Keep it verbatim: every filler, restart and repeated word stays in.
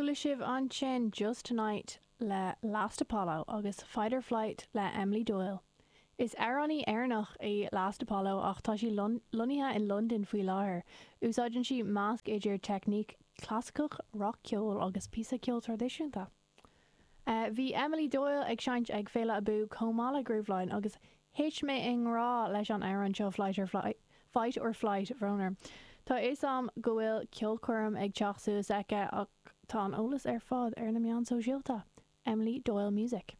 Chuala sibh ansin Just Tonight le Last Apollo agus Fight or Flight le Emily Doyle. Is amhránaí Éireannach í Last Apollo ach tá sí lonnaithe in Londain faoi láthair. Úsáideann sí measc idir teicníc clasaiceach, rac-cheol agus píosa ceoil traidisiúnta. Uh, bhí Emily Doyle ag seinnt ag Féile Abú chomh maith le Grooveline agus thit mé i ngrá leis an amhrán seo Flight or Flight, Fight or Flight bhrón orm. Tá a fhios agam go bhfuil ceolchoirm ag teacht suas aici ach tá an eolas ar fad ar na meáin sóisialta. Emily Doyle Music.